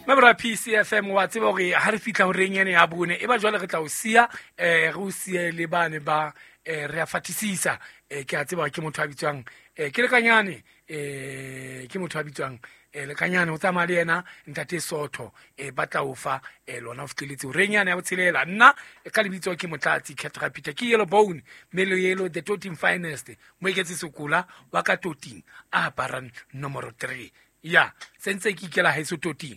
Mabra PCFM wa tseba hore ha re fihla horeng ene ya bone e ba jwale re tla o siya, re o siye le bane ba re a fatisisa. Ke a tseba ke motho a bitswang ke Lekanyane, ke motho a bitswang Lekanyane, o tsamaya le yena ntate Sotho, ba tla o fa lona o fihleletse horeng yane ya botshelela. Nna ka lebitso ke Motlatsi Cat Rapita, ke Yellow Bone Melo Yellow, the Toting Finest, Moeketsi Sokola wa ka Toting a aparang nomoro 3. Ya sentse ke ikela haeso Toting.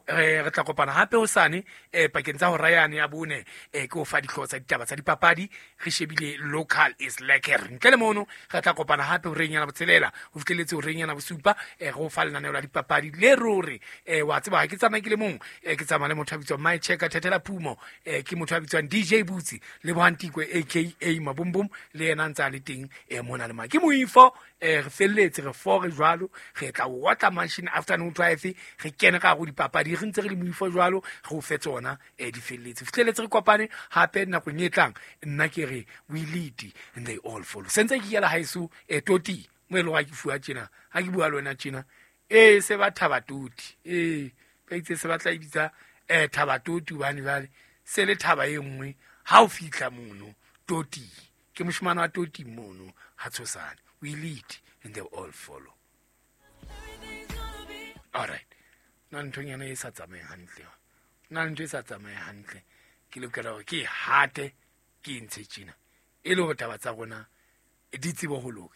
Re tla kopana hape hosane pakeng tsa hora yane ya bone, ke o fa dihlooho tsa ditaba tsa dipapadi, re shebile local is lekker. Ntle le mono re tla kopana hape horeng yana botshelela ho fihleletse horeng yana bosupa, re o fa lenaneo la dipapadi le ruri. Wa tseba ha ke tsamaye ke le mong, ke tsamaya le motho a bitswang My Checker Thethela Phumo, ke motho a bitswang DJ Butsi le Bohantikwe aka Mabumbum, le yena ntse a le teng mona le ma ke moifo. Re felletse re fore jwalo, re tla otla machine afternoon drive, re kene ka go dipapadi, re ntse re le moifo jwalo, re o fe tsona di felletse. Fihleletse re kopane hape nakong e tlang. Nna ke re we lead and they all follow. Sentse ke yela haeso Toti mo e leng ha ke fuwa tjena, ha ke bua le wena tjena, se ba thaba Toti, ba itse se batla e bitsa thaba Toti hobane jwale se le thaba e nngwe ha o fihla mono Toti. Ke moshemane wa Toti mono ha tshosane. We lead and they all follow. All right. Na nthonyana e sa tsamaye hantle. Na ntho e sa tsamaye hantle. Ke lokela hore ke e hate, ke e ntshe tjena. E le hore taba tsa rona di tsebe ho loka.